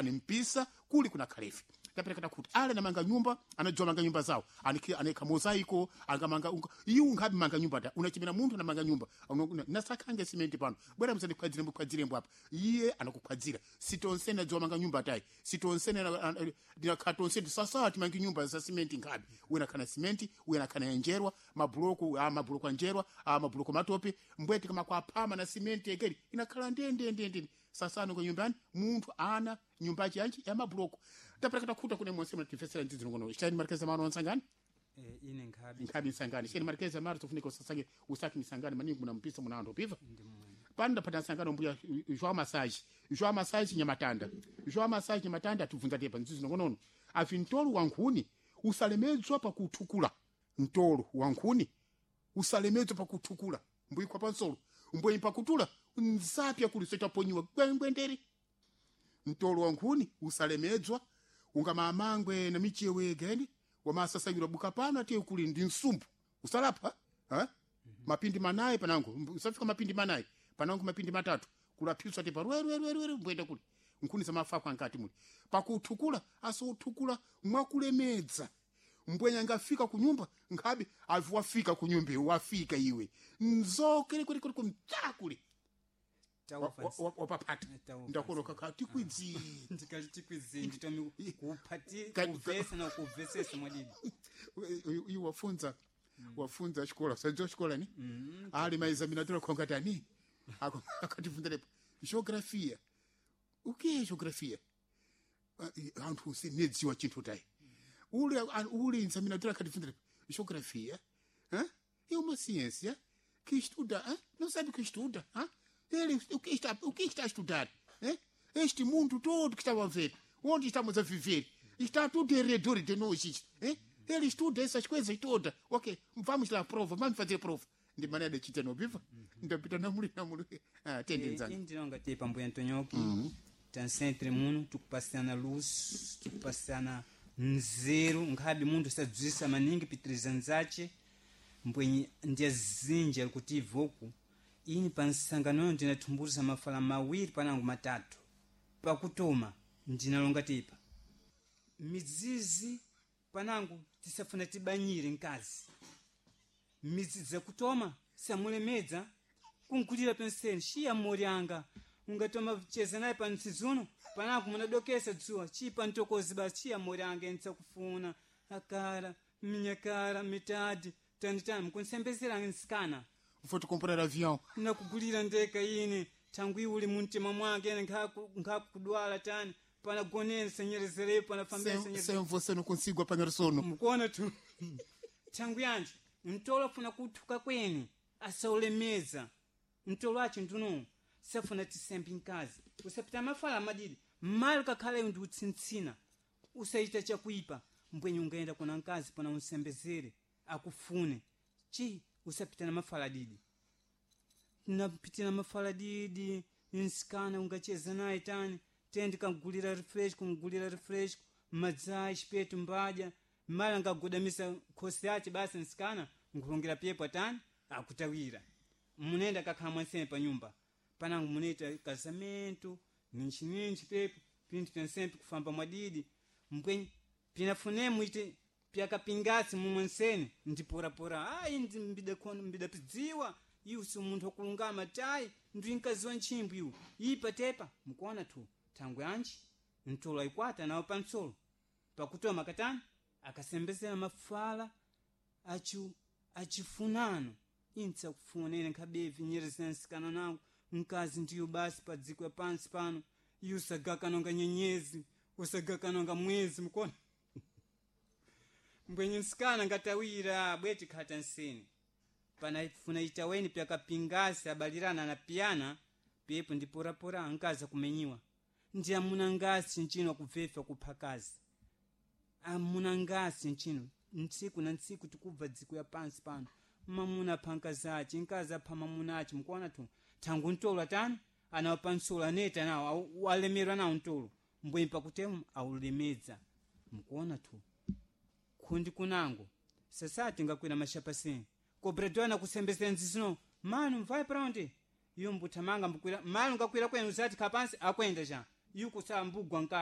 Ni mpisa kuli kuna khalefe taperekata kuti ale namanga nyumba anadziwa manga nyumba zawo aneka mozaiko angamanga iwu nkhabe manga nyumba ta unachimena munthu anamanga nyumba nasakhange simenti pano bwera msani khwadzirembo apa iye anakukhwadzira sitonsene adziwa manga nyumba tayi sitonsene ndinakha sasa timange nyumba za simenti nkhabe wina khana simenti wina khana yanjerwa mabuloko a mabuloko anjerwa a mabuloko matope mbweti kama kwaphama na simenti ekeri inakhala ndendendende sasano kwa nyumbani munthu ana nyumba yanji ya mabuloko taperekata khuta kune monse mnatifesera ndzidzi ngono chani markeza mano nsangani. Ine nkhabi. Nkhabi nsangani chani markeza maro tofunika usasange usaki misangani maningi muna mpisa muna anthu piva pano ndapata nsangano mbuya João Massage, João Massage Nyamatanda, João Massage Nyamatanda atibvunza tepa ndzidzi ngonono afi mtolo wa nkhuni usalemedzwa pakuthukula mtolo wa nkhuni usalemedzwa pakuthukula mbuyikwa pansolo mbwenyi pakutula nzapya kuli sochaponyiwa gwengwendere mtolo wa nkhuni usalemedzwa ungamamangwe na michewe geni wamasasanyira buka pano atiye kuli ndi nsumbu usalapha ha? Mapindi manayi panango usafika mapindi manayi panango mapindi matatu kulaphiswa tepa rwerwerwerwe mbwenda kuli nkhuni zamafakwa ankati muli pakuthukula asouthukula mwakulemedza mbwenya angafika kunyumba nkhabe avi wafika kunyumba wafika iwe nzokere kuli kuli kumtsakule wapapata ndakoloka ka tikwidzi ndikali tikwidzi nditomi kuphati kuvesa na kuvesesa mwadidi. Iwe wafunza wafunza xikola sadziwa xikola ni ali maexaminador akhonga tani akatifunza geografia o que é geografia anthu nedziwa chinthu tayi ule ule examinador akatifunza geografia é uma ciência que estuda não sabe o que estuda ele o que está a estudar este mundo todo que estava a ver onde estamos a viver está tudo em redor de nós ele estuda essas coisas todas. Ok, vamos lá prova, vamos fazer prova ndi maneira de chita nobiva ndapita namuli namuli tendenzani. Indinonga te pambuya ntonyoki tansentre muno tikupasana luz tikupasana nzeru nkhabe munthu sadzwisa maningi pitiriza nzace mbwenyi ndiyazinji ali kuti ivoku ini pa nsanganoyo ndinathumbuza mafala mawiri panango matatu pakutoma ndinalonga tepa midzizi panango tisafuna tibanyire mkazi midzizi zakutoma samulemedza kunkulira penseni shiya moryanga ungatoma cheza naye pa mtsizuno panango munadokesa dzuwa chipa ntokozi basi chiya moryanga entsakufuna akara minyakara mitadi tanitani mkunsembezera nsikana. Vou te comprar avião. Nakugulira ndeka ine tangu iwe uli mumtima mwake ene nkhakudwala tani panagoneni senyerezerepo panafambira. Sem você não consigo apanhar sono. Mukuona tu tangu yanje mtolo afuna kuthuka kweni asaulemeza mtolo acho nduno safuna tisembi mkazi usapita mafala madidi mali kakhale ndi utsintsina usaita chakuipa mbwenye ungaenda kuna mkazi pana unsembezere akufune chi usapita na mafala didi napita na mafala didi nsikana ungacheza naye tani tendi kangulira refresh kumgulira refresh madzai chipetu mbadya mala ngagodamisa khosi yace basi nsikana nkulongera pyepo tani akutawira munenda kakhala mwansene pa nyumba panango munaita casamento ninchininchi pepo pinthu pyansempe kufamba mwadidi mbwenye pinafune muite pyakapingasi mumwensene ndiporapora ayi ndi mbida mbidapidziwa iwu si munthu wakulungama tayi ndi mkazi wa ntchimbo iwu ipa tepa mukuona tu thangwe anji mtolo ayikwata nawo pansolo pakutoma katani akasembezera mafala achu achifunano intsakufuna ine nkhabevi nyereza nsikana nangu mkazi ndiyo basi pa dziko ya pansi pano iye usagakanonga nyenyezi usagakanonga mwezi mukuona mbwenye nsikana ngatawira bweti khata nsini panafuna itaweni pyakapingasi abalirana na piyana pepo ndiporapora ankazi akumenyiwa ndi amuna ngasi nchino akubvefa kupha kazi amuna ngasi nchino ntsiku na ntsiku tikubva dziko ya pansi pano mamuna apha nkazi ace nkazi apha mamuna ace mukuona tu thangu mtolo atani anawo pansolo aneta nawo alemerwa nawo mtolo mbwenye pakutemu aulemedza mukuona tu khundi kunango sasati ngakwira mashapasini kobredwana kusembesera nzizino manu mvaye paundi iyo mbuthamanga mbukwira manu ngakwira kwenu usati khapansi akwenda cha. Yuko sambugwa nkara.